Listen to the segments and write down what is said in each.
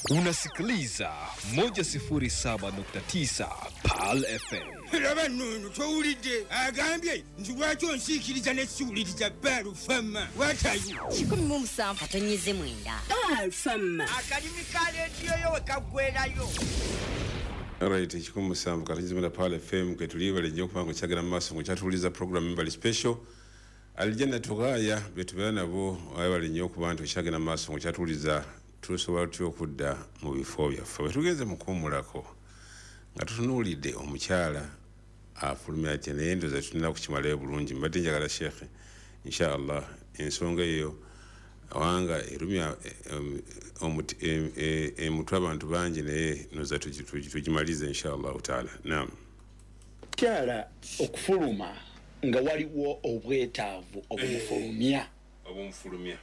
Unasikiliza 107.9 Pearl FM. Laba nno towulidde agambye nti lwaki onsiikiriza nesiwuliriza Baalufama watayo 17.9 Baalufama. Akalimi ka leediyo yo we kaggwerayo. Alright, 17.9 Pearl FM kwe tuli bale nnyo okubanga okyagenda mu maaso ng'okyatuwuliriza program Mbali Special. Aljanna Tughaya be tubeera nabo bale nnyo okuba nti okyagenda mu maaso ng'okyatuwuliriza tusobola tutya okudda mu bifo byaffe. Bwe tugenze mu kuwummulako nga tutunuulidde omukyala afulumya atya, naye ndowooza tulina kukimalayo bulungi. Mbadde njagala Sheikh inshallah ensonga eyo wanga erumya emutwe abantu bangi, naye ndowooza tugimalize inshallah taala. Naam. Mukyala okufuluma nga waliwo obwetaavu obumufulumya. Obumufulumya.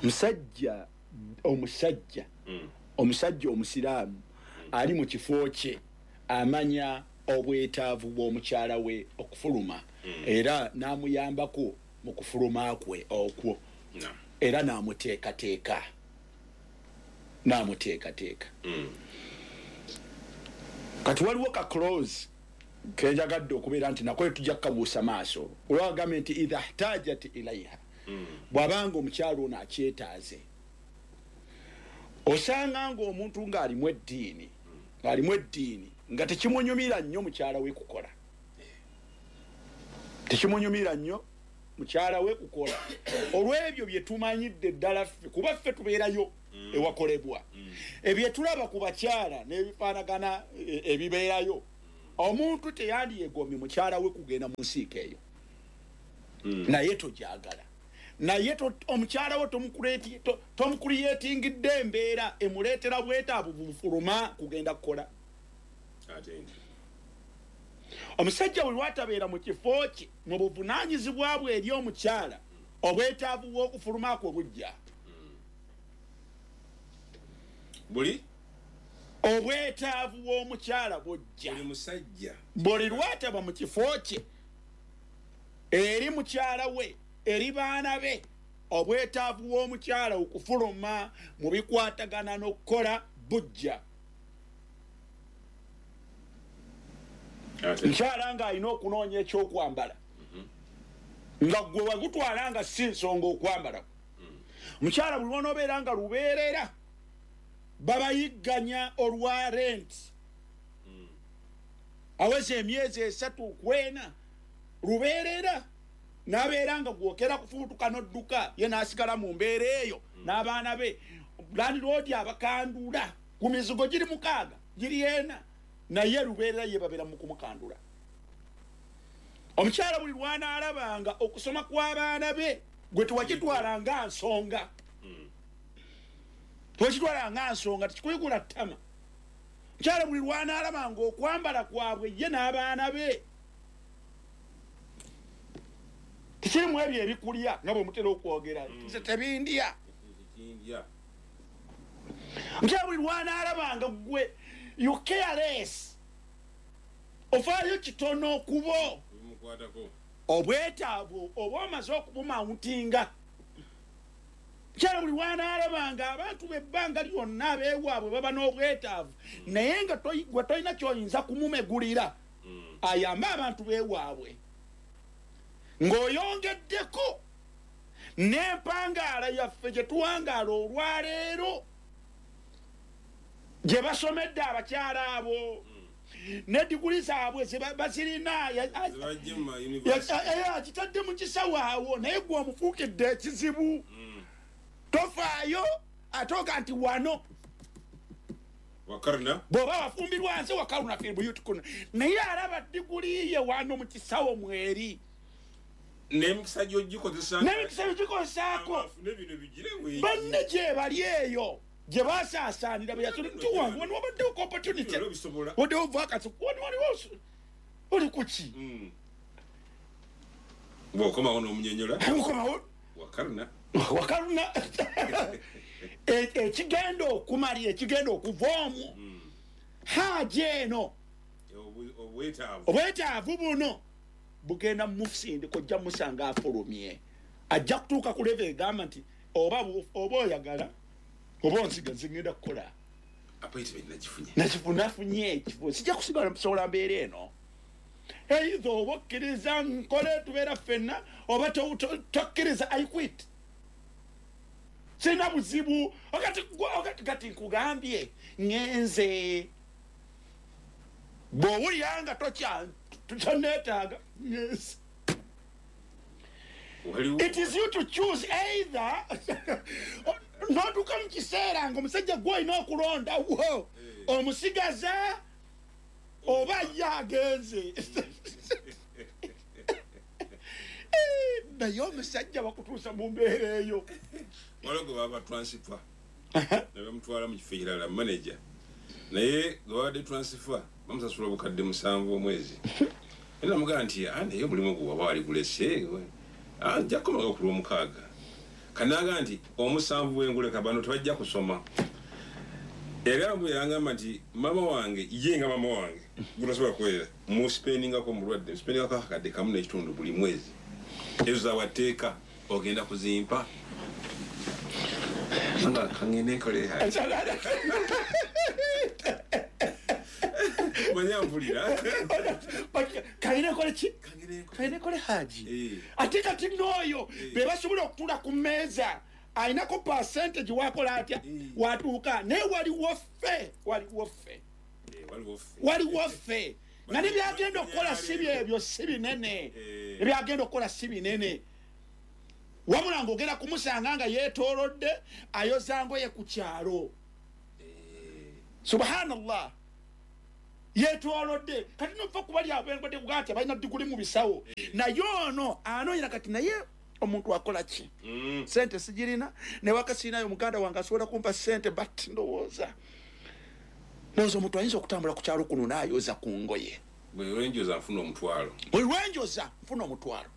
Omusajja omusajja omusiraamu ali mu kifo kye amanya obwetaavu bw'omukyala we okufuluma, era n'amuyambako mu kufuluma kwe okwo, era n'amuteekateeka. Kati waliwo ka clause kenjagadde okubeera nti nako tujja kukabuusa maaso, olwagambye nti idha htajat ilaiha, bw'abanga omukyala ono akyetaaze. Osanga ng'omuntu ng'alimu eddiini nga tekimunyumira nnyo mukyala we kukola, olw'ebyo bye tumanyidde ddala ffe, kuba ffe tubeerayo ewakolebwa, ebye tulaba ku bakyala n'ebifaanagana ebibeerayo. Omuntu teyandyegombye mukyala we kugenda mu nsiiko eyo, naye togyagala, naye omukyala we tomukuliyetingidde embeera emuleetera bwetaavu bufuluma kugenda kukola. Omusajja bwe lwatabeera mu kifo kye mu buvunaanyizibwa bwe eri omukyala, obwetaavu bw'okufuluma kwe bujja. Buli obwetaavu bw'omukyala bujja. Buli lwataba mu kifo kye eri mukyala we, eri baana be, obwetaavu bw'omukyala okufuluma mu bikwatagana n'okukola bujja. Mukyala ng'alina okunoonya ekyokwambala, nga gwe wagutwala nga si nsonga okwambala. Mukyala buli lw'onoobeera nga lubeerera babayigganya olwa rent, aweza emyezi 3 kwena lubeerera, n'abeera nga gwokera kufuutuka n'odduka, ye n'asigala mu mbeera eyo n'abaana be. Landlord abakandula ku mizigo giri 6 giri 4, naye lubeerera ye babeera mu kumukandula. Omukyala buli lw'anaalabanga okusoma kw'abaana be gwe tewakitwala nga nsonga, tekikuyigula ttama. Omukyala buli lw'anaalabanga okwambala kwabwe ye n'abaana be tekirimu ebyo ebikulya nga bwe mutera okwogera, tebindya. Omukyala buli lw'anaalabanga gwe you careless, ofaayo kitono okubo obwetaavu oba omaze okubumawuntinga. Mukyala buli lw'anaalabanga abantu b'ebbanga lyonna abeewaabwe baba n'obwetaavu, naye nga gwe tolina ky'oyinza kumumegulira ayambe abantu beewaabwe, ng'oyongeddeko n'empangaala yaffe gye tuwangaala olwaleero gye basomedde abakyala abo, ne diguli zaabwe bazirina, akitadde mu kisawo awo, naye gwe omufuukidde ekizibu. Tofaayo ate oga nti wano bw'oba wafumbirwa nze wakaruna fi buyutikuna, naye alaba diguli ye wano mu kisawo mweri n'emikisa gy'ogikozesaako banne gye bali eyo gye basaasaanira bwe yasula wano wabaddewo opportunity, waddewo vacancy, wano waliwo oli ku ki? Bw'okomawo n'omunyonyola okomawo wakaruna. Ekigenda okumalira, ekigenda okuva omwo haaja eno obwetaavu buno bugenda musindika, ojja musanga afulumye, ajja kutuuka ku level egamba nti oba oyagala Oba onsiga nze ngenda kukola. Nafunye ekifo, sijja kusigala musobola mbeera eno. Either oba okkiriza nkole tubeera ffenna, oba tokkiriza, I quit. Sirina buzibu. Kati nkugambye ngenze, bw'owulira nga toneetaaga, ngenze. It is you to choose either. N'otuuka mu kiseera ng'omusajja gw'olina okulondawo, omusigaza oba ye agenze. Naye omusajja bakutuusa mu mbeera eyo. Waliwo gwe baba transfer ne bamutwala mu kifo ekirala, manager, naye gwe babadde transfer bamusasula 7,000 omwezi. Era namugamba nti naye omulimu gwe waba wali gulese, nja kukomaga ku Lwomukaaga. Kanaga nti 7 bwenguleka bano tebajja kusoma. Era bwe yangamba nti mama wange ye nga mama wange gunasobola kuweerera, muspendingako omulwadde, muspendingako akakadde 1.5 buli mwezi, ezo zawateeka ogenda kuzimpa. Nga kangende nkole manya mpulira. Kangende nkole ki? Kangende nkole haji. Ate kati n'oyo be basobola okutuula ku mmeeza, ayinako percentage wakola atya watuuka. Naye waliwo ffe nga nebyagenda okukola si byebyo, si binene. Ebyagenda okukola si binene, wabula ng'ogenda kumusanga nga yeetoolodde ayoza ngoye ku kyalo. Subhanallah, yeetoolodde. Kati nova kubali abengwadde kugaa nti abalina diguli mu bisawo, naye ono anoonyera kati naye omuntu akola ki? Sente sigirina, newaka sirinayo, muganda wange asobola kumpa sente, but ndowooza omuntu ayinza okutambula ku kyalo kuno n'ayoza ku ngoye. Bwe lwenjoza nfuna omutwalo. Bwe lwenjoza nfuna omutwalo.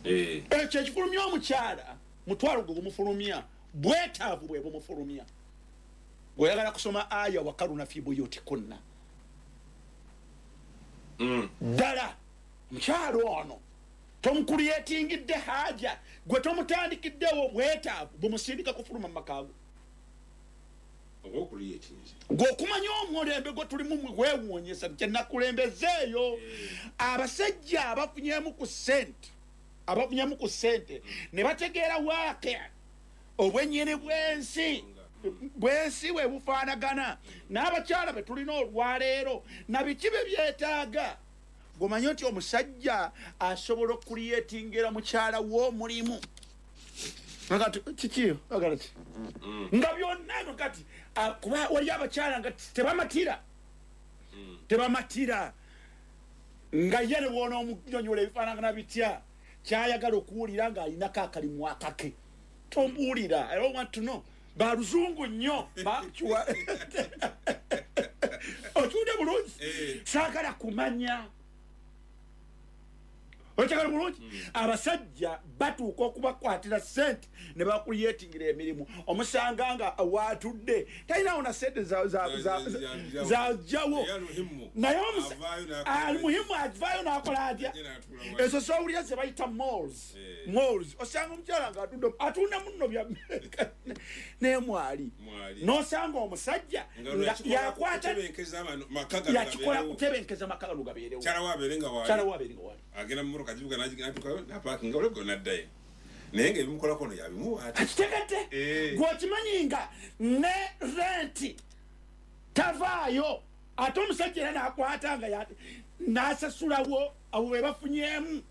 Ekyo ekifulumya omukyala, mutwalo gwe gumufulumya, bwetaavu bwe bumufulumya. Bw'oyagala kusoma aya wakaruna fi buyutikunna. Ddala omukyala ono tomukulyetingidde haja, gwe tomutandikiddewo bwetaavu bumusindika kufuluma mu maka go. Gwe okumanya omulembe gwe tulimu gwewuunyisa kye nakulembezeeyo. Abasajja abafunyemu ku ssente, abafunyemu ku ssente ne bategeera waake obwennyini bw'ensi bwe bufaanagana n'abakyala be tulina olwaleero na biki bye byetaaga. Gomanye nti omusajja asobola okuliyetingira mukyala w'omulimu kiki agala ki nga byonna kati kuba wali abakyala nga tebamatira, tebamatira nga ye ne bw'ona omunyonyola ebifaanagana bitya, kyayagala okuwulira ng'alinako akalimu akake. Tombuulira, I don't want to know. Baluzungu nnyo bakiwa okiwulire bulungi, saagala kumanya. Okyagala bulungi. Abasajja batuuka okubakwatira sente ne bakuyetingira emirimu. Omusanga nga waatudde talinawo na sente zajjawo, naye alimuhimu avaayo n'akola atya? Ezo zowulira ze bayita malls. Malls, osanga omukyala nga atudde atunda munno bya naye mwali, n'osanga omusajja yakwata yakikola kutebenkeza maka gano gabeerewo. Kyala wabeere nga waali agenda mu kajibuga n'atuuka n'apaakinga olwo n'addayo, naye ng'ebimukolako ono yabimuwa ati akitegedde. Gw'okimanyi nga ne renti tavaayo, ate omusajja era n'akwata nga n'asasulawo. Abo be bafunyeemu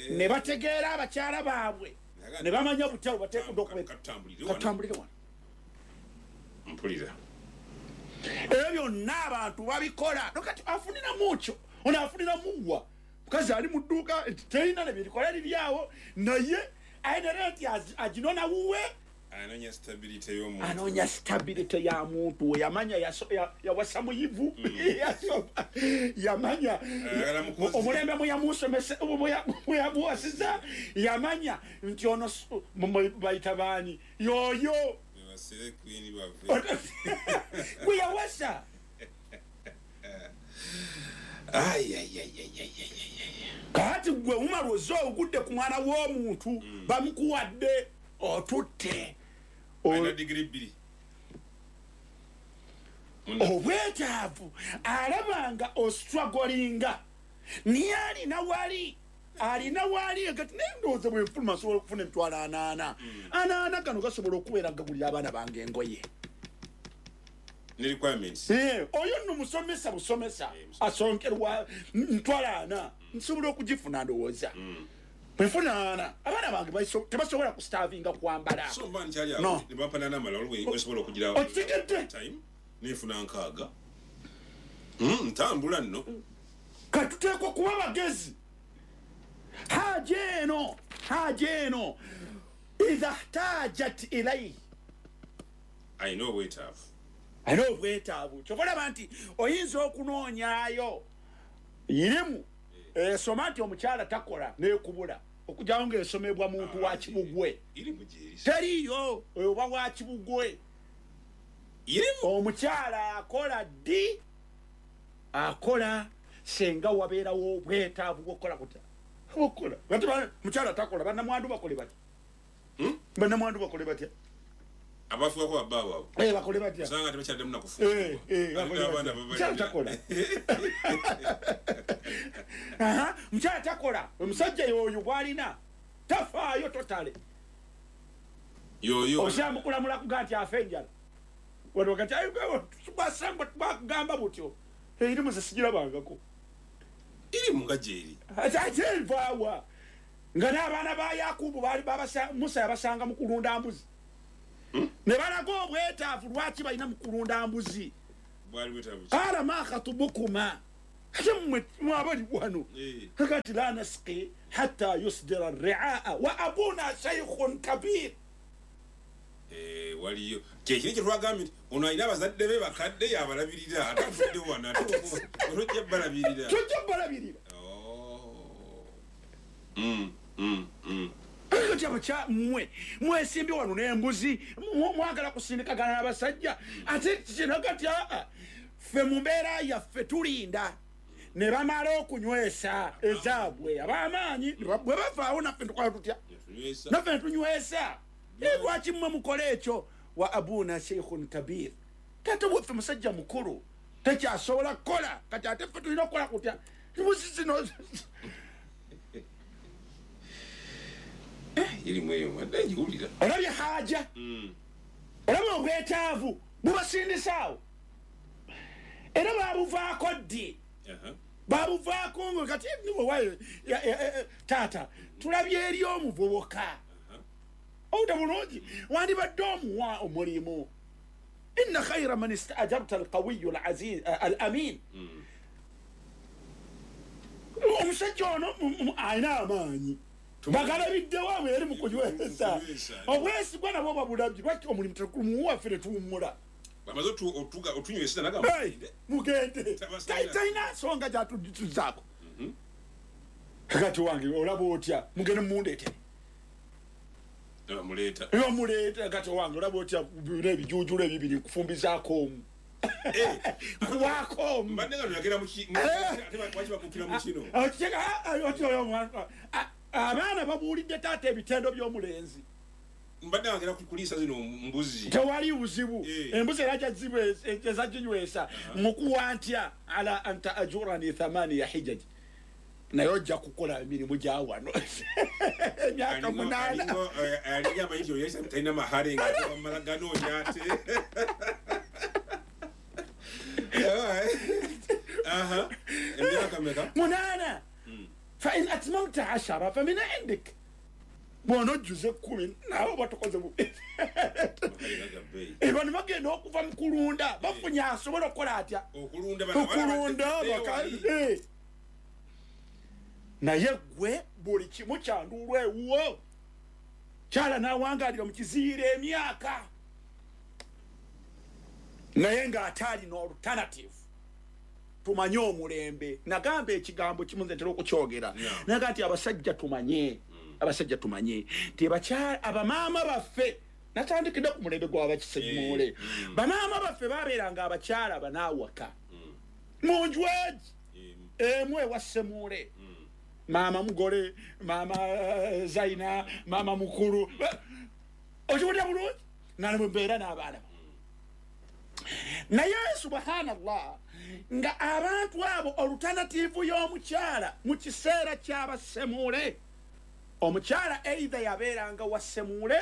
ne bategeera abakyala baabwe ne bamanya butya bwe bateekeddwa katutambulire wano. Mpulira ebyo byonna abantu babikola. Kati afuniramu kyo ono afuniramu wa mukazi ali mu dduuka terina ne birikola liri awo, naye ayina renti aginona wuwe. Anoonya stability y'omuntu, anoonya stability ya muntu we. Yamanya yawasa muyivu, yamanya omulembe muyamuwasiza, yamanya nti ono bayita baani yoyo gwe yawasa. Kati gwe umalwoza ogudde ku mwana w'omuntu, bamukuwadde otutte Obwetaavu alabanga ostrugglinga niye alina wali kati naye ndowooza bwe nfuluma nsobola okufuna emitwalo 80 anaana gano gasobola okubeera gagulira abaana bange engoye. Oyo nno musomesa busomesa asonkerwa mitwalo 40 nsobola okugifuna ndowooza. Bwefuna 40 abaana bange tebasobola kustavinga kwambala. No. Okitegedde? Nefuna 6 ntambula nno. Katuteekwa kuba bagezi. Haja eno idha htajat ilayhi, alina obwetaavu. Kyova olaba nti oyinza okunoonyaayo irimu esoma nti omukyala takola nekubula okujjawo ng'esomebwa muntu wa Kibugwe. Teriyo oba wa Kibugwe. Omukyala akola ddi? Akola senga wabeerawo obwetaavu bw'okukola kutya? Okola. Kati mukyala takola, bannamwandu bakole batya? Bannamwandu bakole batya? Abafuukako babbaabwe abo. Bakole batya? Osanga tebakyaddemu na kufumbirwa. Bakole batya? Mukyala takola. Mukyala takola. Omusajja yoyo gw'alina tafaayo totale. Yoyo. Osanga mukulamula kuga nti afa enjala. Wano kati basanga bakugamba butyo. Erimu ze sigirabangako. Irimu nga gyeri. Ate envaawa. Nga n'abaana ba Yakubu baali Musa yabasanga mu kulunda mbuzi. Ne balaga obwetaavu lwaki balina mu kulunda mbuzi. Bwali bwetaavu ki? Qaala ma khatubukuma. Ate mmwe mwabali wano. Kati la nasqi hatta yusdira ar-ri'aa wa abuna shaykhun kabir. Waliyo kyekiri kye twagambye nti ono alina abazadde be bakadde yabalabirira ate atudde wano ate tojja balabirira. Tojja balabirira. Kati mmwe mwesimbye wano n'embuzi mwagala kusindikagana n'abasajja ate kino kati ffe mu mbeera yaffe tulinda ne bamala okunywesa ezaabwe ab'amaanyi bwe bavaawo naffe tukola tutya? Naffe ne tunywesa. Lwaki mmwe mukola ekyo? Wa abuna sheikhun kabir, taata waffe musajja mukulu tekyasobola kukola kati ate ffe tulina okukola kutya? Mbuzi zino irimu eyo mbadde ngiwulira. Olabye haja, olabye obwetaavu bubasindisaawo era babuvaako ddi? Babuvaako nga kati taata tulabye eri omuvubuka owuta bulungi wandibadde omuwa omulimu. Inna khayra man istaajarta alqawiyu alaziz alamin. Omusajja ono alina amaanyi bagalabiddewo abo eri mu kunywesa obwesigwa nabwo babulabye. Lwaki omulimu tekumuwa ffe ne tuwummula? Bamaze otunywesa nagamba mugende talina nsonga gyatuzaako. Kati wange olaba otya? Mugende mundeetere. Bamuleeta. Kati wange olaba otya bino ebijuujulo ebibiri nkufumbizaako omu nkuwaako omu. Abaana babuulidde taata ebitendo by'omulenzi. Mbadde wagera kuliisa zino mbuzi. Tewali buzibu. Embuzi era ezaginywesa mukuwa ntya ala anta ajurani 8 hijaji. Naye ojja kukola emirimu gya wano emyaka 8. Alinga amayinja oyesa talina mahare nga bamala ganoonya ate. Emyaka meka? 8. Fa in atmamta 10 famin indik. Bw'onojjuza 10 naawe oba tokoze bubi. Bano bagenda okuva mu kulunda bafunye asobola okukola atya? Okulunda. Naye gwe buli kimu kyanduulwa ewuwo. Kyala n'awangalira mu kiziiro emyaka naye ng'ate alina alternative. Tumanye omulembe. Nagamba ekigambo kimu nze ntera okukyogera. Naga nti abasajja tumanye. Abasajja tumanye nti abamaama baffe natandikidde ku mulembe gw'abakisemuule. Bamaama baffe babeeranga abakyala banaawaka mu nju egi emu ewa Ssemuule. Maama mugole, maama Zaina, maama mukulu. Okiwulira bulungi? Nga mbeera n'abaana. Naye subhanallah, nga abantu abo alternative y'omukyala mu kiseera ky'abasemule, omukyala either yabeeranga wa semule,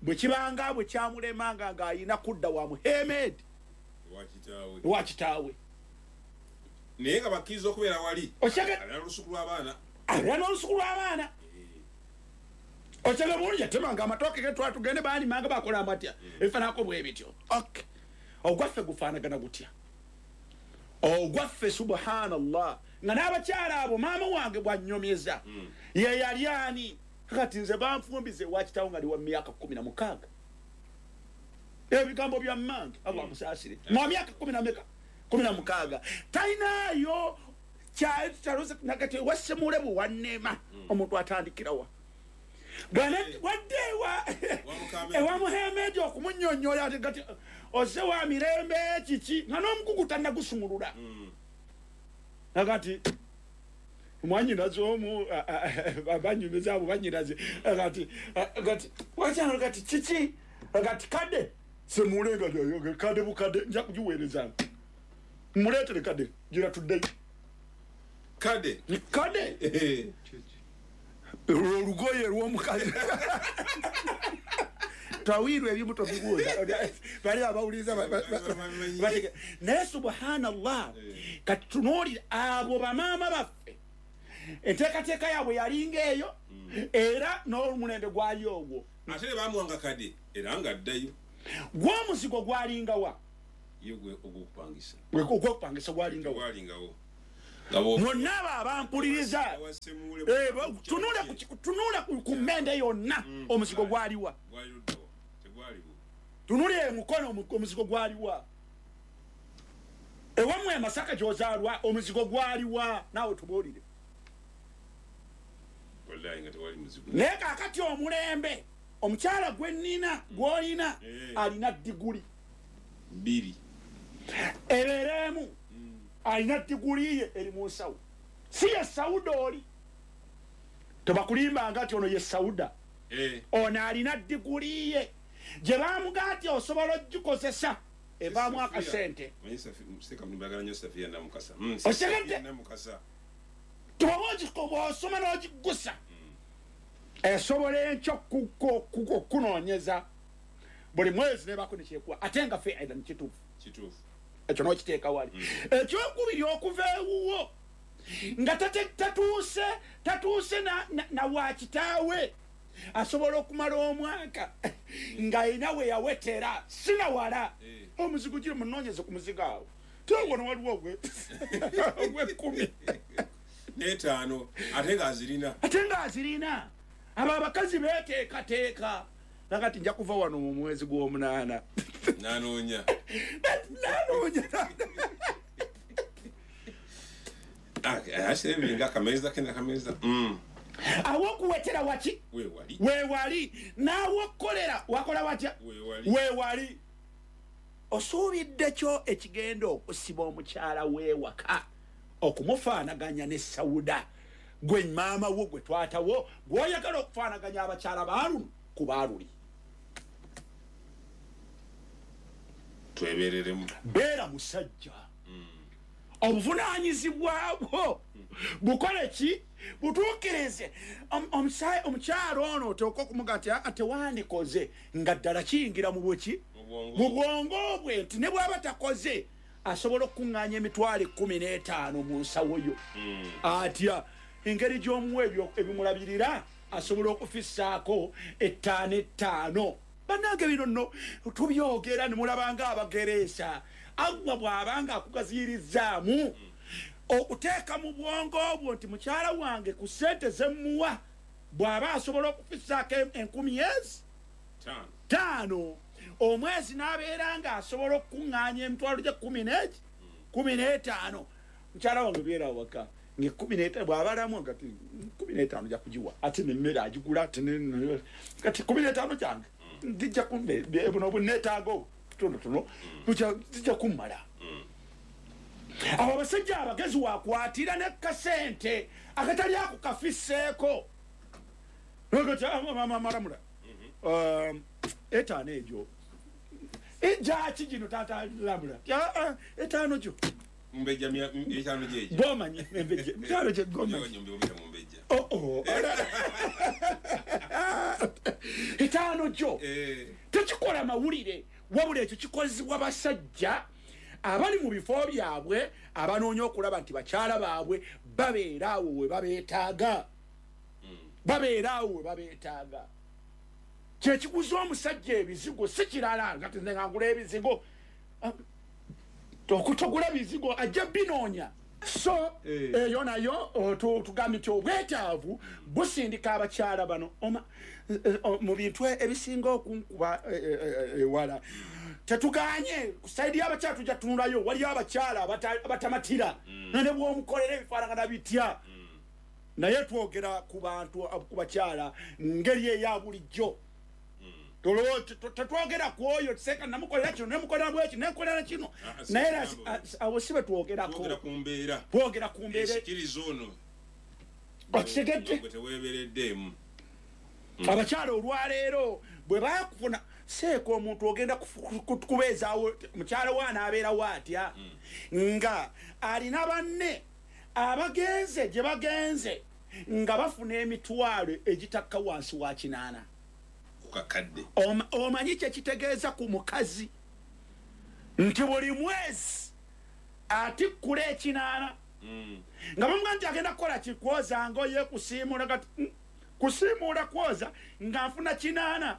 bwe kibanga bwe kyamulemanga ng'ayina kudda wa Muhammad wa kitaawe. Naye nga bakkiriza okubeera wali alina olusuku lw'abaana, alina olusuku lw'abaana. Okyega bulungi, yatemanga amatooke ge twala tugende baalimanga bakola batya, ebifaananako bwe bityo. Okay, ogwaffe gufaanagana gutya? Ogwaffe subhanallah, nga n'abakyala abo maama wange bw'annyomeza ye yali ani? Kati nze banfumbize wa kitaawo nga ndi wa myaka 16. Ebigambo bya mmange, Allah amusaasire, mwa myaka 16 talinayo nakati wasemule bwe wannema omuntu atandikirawa wadde ewa Muhammad okumunnyonnyola ati kati ozze wa mirembe kiki, nga n'omugugu tannagusumulula. Nakati mwanyinaze omu banyumiza abo banyinaze kati kati wakyano kati kiki kati kadde semulenga yoyoge kadde bukadde nja kugiweereza muleetere kadde gira tuddeyo kadde kadde olugoye lw'omukazi tawirwe ebimu tobibuuza bali abawuliriza. Naye subhanallah, kati tunuulire abo bamaama baffe, enteekateeka yaabwe yalinga eyo, era n'omulembe gwali ogwo. Ate ne bamuwanga kadde era ng'addayo. Gw'omuzigo gwalingawa? Ye ogw'okupangisa. Ogw'okupangisa gwalingawa? Gwalingawo. Mwonna abo abampuliriza, tunula ku mmende yonna, omuzigo gwaliwa? Tunule emukono, omuzigo gwaliwa? Ewammwe e Masaka gy'ozaalwa, omuzigo gwaliwa? Naawe tubuulire. Naye kaakati omulembe omukyala gwe nnina gw'olina alina diguli 2 ebeeremu, alina diguli ye eri mu nsawo, si ye Sauda oli tebakulimbanga nti ono ye Sauda, ono alina diguli ye gye bamugaa nti osobola ogikozesa evaamu akasente. Otegedde? Bw'osoma n'ogiggusa esobola enkya okukunoonyeza buli mwezi nebako nekyekuwa, ate nga fiilan kituufu ekyo n'okiteeka wali. Ekyokubiri, okuva ewuwo nga tatuuse na wa kitaawe, asobola okumala omwaka ng'alina we yawetera sinawala omuzigo giri munoonyeze ku muzigo awo tewano waliwo ogw'ekkumi n'etaano, ate ng'azirina, ate ng'azirina. Abo abakazi beeteekateeka nakati nja kuva wano mu mwezi gw'omunaana nanoonya nanoonya. Awo okuwetera waki weewali, naawe okukolera wakola watya weewali. Osuubidde kyo ekigenda okusiba omukyala weewaka okumufaanaganya ne Sauda gwe maama wo gwe twatawo gw'oyagala okufaanaganya abakyala baaluno ku baaluli. Twebereremu. Beera musajja, obuvunaanyizibwa bwo bukole ki? Butuukirize. Omukyala ono oteeka okumuga nti tewandikoze, nga ddala kiyingira mu bweki mu bwongo bwe nti ne bw'aba takoze asobola okukuŋŋaanya emitwalo 15 mu nsawo yo. Atya engeri gy'omuwa ebyo ebimulabirira asobola okufissaako 5 5. Bannange bino nno tubyogera ne mulabanga abagereesa. Allah bw'abanga akugaziyirizaamu okuteeka mu bwongo bwo nti mukyala wange ku ssente zemmuwa bw'aba asobola okufissaako 1000 ezi 5 omwezi n'abeera ng'asobola okukuŋŋaanya emitwalo gye 15, mukyala wange beera waka nga 15 bw'abalamu kati 15 ja kugiwa, ate n'emmere agigula, ate kati 15 kyange zijja buno buneetaago tuno zijja kummala. Abo abasajja abagezi wakwatira ne kasente akatali ako kafisseeko maramula Etaano egyo ejaki gino taata lamula etaano gyo Mumbejja etaano gyejo. Gomanyi embejja etaano gye gomanyi. Oh. Etaano gyo tekikola mawulire, wabula ekyo kikozebwa basajja abali mu bifo byabwe abanoonya okulaba nti bakyala baabwe babeera awo we babeetaaga. Babeera awo we babeetaaga. Kyekikuza omusajja ebizigo si kirala nga nze nga ngula ebizigo. Okutogula bizigo ajja binoonya. So eyo nayo tugambye nti obwetaavu busindika abakyala bano mu bintu ebisinga okunkuba ewala. Tetuganye ku sayidi y'abakyala tujja tunulayo, waliyo abakyala abatamatira ne bw'omukolera ebifaanagana bitya. Naye twogera ku bantu ku bakyala mu ngeri eya bulijjo. Tetwogera ku oyo seka namukolera kino nemukolera bweki nemukolera kino, naye awo si bwe twogerako. Twogera ku mbeera okitegedde. Abakyala olwaleero bwe bakufuna seeka omuntu ogenda kubeezaawo mukyala we anaabeerawo atya nga alina banne abagenze gye bagenze nga bafuna emitwalo egitakka wansi wa 8. Omanyi kye kitegeeza ku mukazi nti buli mwezi atikkula 8 nga bamugamba nti agenda kukola ki, kwoza ngoye, kusiimuula, kati kusiimuula kwoza nga nfuna 8.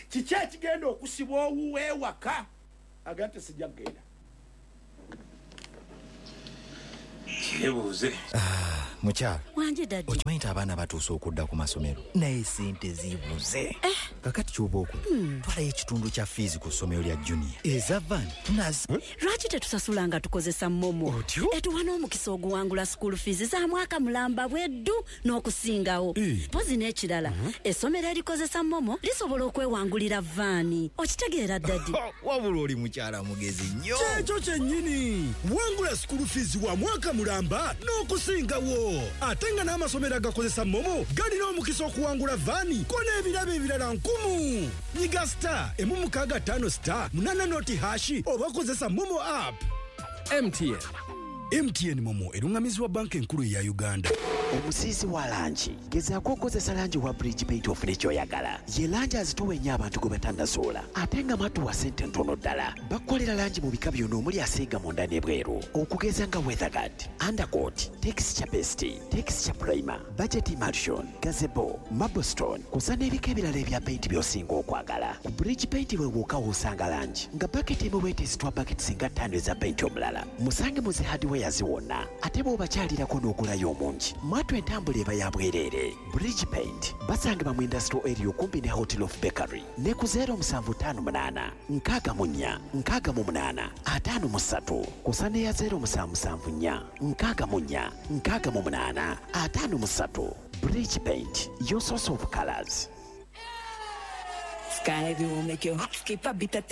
Kiki ekigenda okusibwa owuwe ewaka? Agamba nti sijja kugenda. Kyebuuze. Mukyala wanje daddy, okimanyi nti abaana batuuse okudda ku masomero naye sente zibuze. Kakati kyoba okola, twalayo ekitundu kya fiizi ku ssomero lya junior eza van nazi. Lwaki tetusasula nga tukozesa MoMo? Etuwa n'omukisa oguwangula school fees za mwaka mulamba bweddu n'okusingawo. Mpozi n'ekirala, essomero erikozesa MoMo lisobola okwewangulira vaani. Okitegeera daddy? Wabula oli mukyala mugezi nnyo. Kyekyo kyennyini, wangula school fees wa mwaka mulamba n'okusingawo. Ate nga n'amasomero agakozesa MoMo galina omukisa okuwangula vaani ko n'ebirabo ebirala 10. Nyiga *165 *8# oba kozesa MoMo app. MTN. MTN MoMo erungamizibwa banka enkulu eya Uganda. Omusiisi wa langi gezaako okukozesa langi wa Bridge Paint ofune ky'oyagala. Ye langi azitowa ennyo abantu gwe batannasoola ate nga matuwa ssente ntono ddala. Bakukolera langi mu bika byonna omuli asiiga munda n'ebweru, okugeza nga Weatherguard, Undercoat, Texture Paste, Texture Primer, Budget Emulsion, Gazebo, Marblestone, kw'ossa n'ebika ebirala ebya paint by'osinga okwagala. Ku Bridge Paint we wokka w'osanga langi nga baketi emu bw'eteesitwa baketi singa 5 eza paint omulala. Musange mu zi hardwares wonna ate bw'obakyalirako n'ogulayo omungi. Mwatu entambula eba ya bwereere. Bridge Paint basangibwa mu industrial area okumpi ne Hotel of Bakery ne ku 0758 64 68 53 kw'ossa n'eya 0774 64 68 53. Bridge Paint, your source of colors. Sky will make your heart skip a beat.